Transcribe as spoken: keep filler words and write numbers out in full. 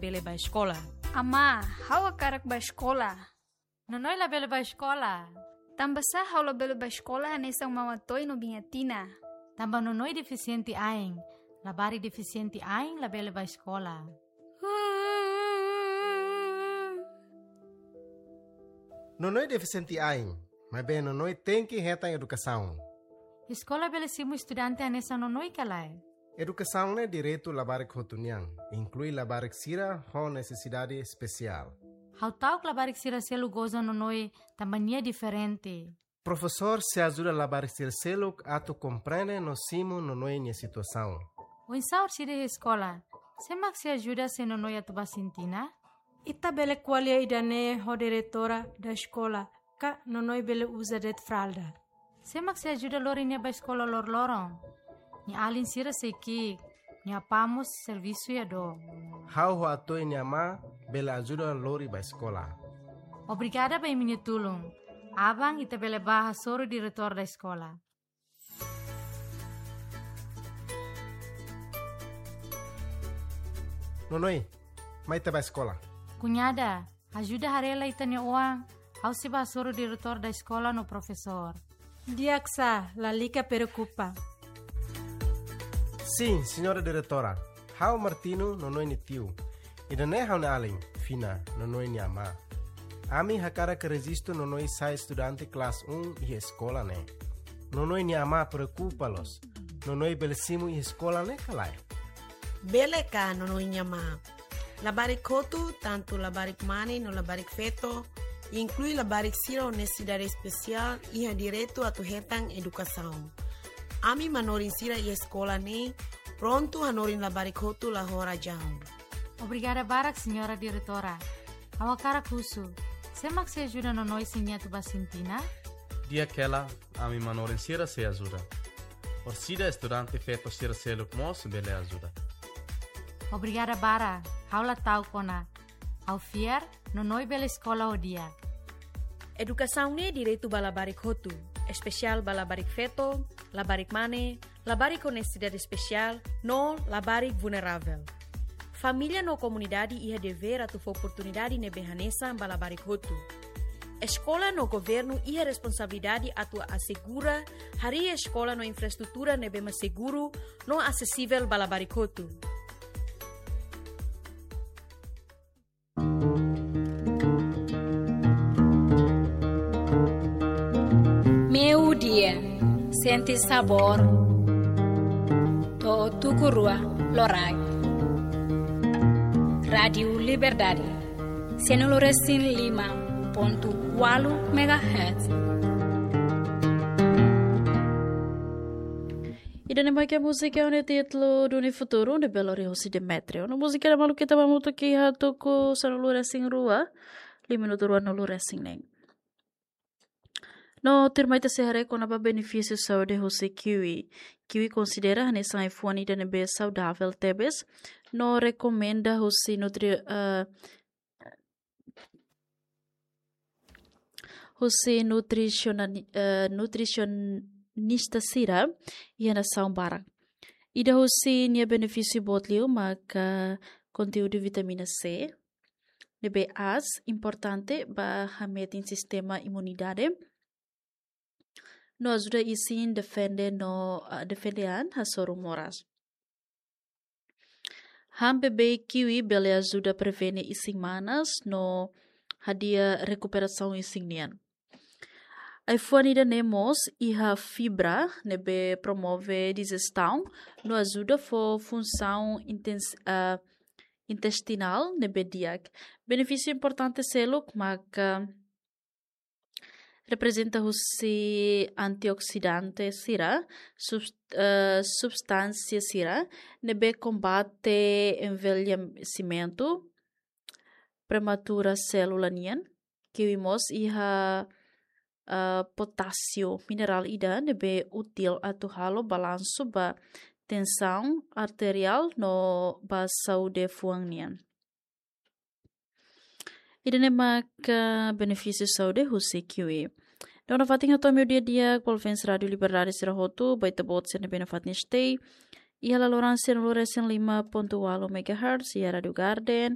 bele bá eskola. Amá, ha'u hakarak bá eskola. Nonoi labele bá eskola. Tanbasá ha'u labele bá eskola hanesan Mama Toy no Biña Tina? Tanba Nonoi defisiente ain. Labarik defisiente ain labele bá eskola. Nonoi defisiente ain, maibé Nonoi tenke hetan edukasaun. Eskola bele simu estudante hanesan Nonoi ka lae? Edukasaun ne'e direitu labarik hotu nian, inklui labarik sira ho nesesidade espesiál. Ha'u ta'uk labarik sira seluk goza Nonoi tanba nia diferente. Profesór sei ajuda labarik sira seluk atu komprende no simu Nonoi nia situasaun. Oinsá orsida iha eskola? Sé mak sei ajuda se Nonoi atu bá sintina? Ita bele ko'alia ida-ne'e ho diretora da eskola, ka Nonoi bele uza de'it fralda. Sé mak sei ajuda lori nia bá eskola loroloron? Nia alin sira sei ki'ik, nia apá mós servisu iha dook. Ha'u ho Atoy nia amá bele ajuda lori bá eskola. Obrigada ba imi-nia tulun. Aban ita bele bá hasoru diretór da eskola. Nonoi, mai ita bá eskola. Kuñada, ajuda haree lai ita-nia oan, ha'u sei bá hasoru diretór da eskola no profesór. Di'ak sá, lalika preokupa. Sin, señora diretora. Ha'u Martino, Nonoi nia tiu. Ida-ne'e ha'u-nia alin, Fina, Nonoi nia amá. Ami hakarak rejistu Nonoi sai estudante kelas um iha eskola ne'e. Nonoi nia amá preokupa loos. Nonoi bele simu iha eskola ne'e ka lae? Bele ka, Nonoi nia amá? Labarik hotu, tantu labarik mane no labarik feto, inklui labarik sira ho nesesidade espesiál, iha direitu atu hetan edukasaun. Ami manorin sira iha eskola ne'e prontu hanorin labarik hotu la ho razaun. Obrigada barak, señora diretora. Ha'u hakarak husu, sé mak sei ajuda Nonoi se nia atu bá sintina? Di'ak hela, ami manorin sira sei ajuda. Orsida estudante feto sira seluk mós bele ajuda. Obrigada barak, ha'u la ta'uk ona. Ha'u fiar, Nonoi bele eskola ho di'ak. Edukasaun ne'e direitu ba labarik hotu, espesiál ba labarik feto, labarik mane, labarik ho nesesidade espesiál, no labarik vulneravel. Família no komunidade iha devér atu fó oportunidade ne'ebé hanesan ba labarik hotu. Eskola no governu iha responsabilidade atu asegura harii eskola no infraestrutura ne'ebé mak seguru no asesivel ba labarik hotu. Meiudia, sente sabór. To'o tuku rua loraik. Rádiu Liberdade, sianulu resin lima pontu ualu megahertz. Ida-ne'e mak múzika ho títulu Duni Futuru, ne'ebé lori hosi Demetrio. No múzika ne'e malu ita bá hamutuk iha tuku sanulu resin rua, lima minutu ruanulu resin neen. No tuirmai ita sei haree kona-ba benefísiu saúde hosi kiwi. Kiwi konsidera hanesan ai-fuan ida ne'ebé saudavel tebes. No rekomenda hosi nutri-, eh, hosi nutrisiona-, eh, nutrisionista sira iha nasaun barak. Ida hosi nia benefísiu boot liu maka konteúdu vitamina C, ne'ebé aas, importante ba hametin sistema imunidade. No ajuda isin defende no, ah, defende an hasoru moras. Han bebé kiwi bele ajuda prevene isin manas no hadi'a rekuperasaun isin nian. Ai-fuan ida-ne'e mós iha fibra ne'ebé promove dijestaun no ajuda fó funsaun intens-, ah, intestinál ne'ebé di'ak. Benefísiu importante seluk maka reprezenta husi antioksidante sira, subs-, eh, substánsia sira ne'ebé kombate envelhesimentu prematura sélula nian. Kiwi mós iha, eh, potásiu, minerál ida ne'ebé útil atu halo balansu ba tensaun arteriál no ba saúde fuan nian. Ida-ne'e maka benefísiu saúde husi kiwi. Dona fatin hato'o meiudia di'ak, ouvinte Rádiu Liberdade sira hotu, ba ita-boot sira ne'ebé nafatin stay iha laloran sianulu resin lima pontu ualu megahertz, iha Rádiu Garden,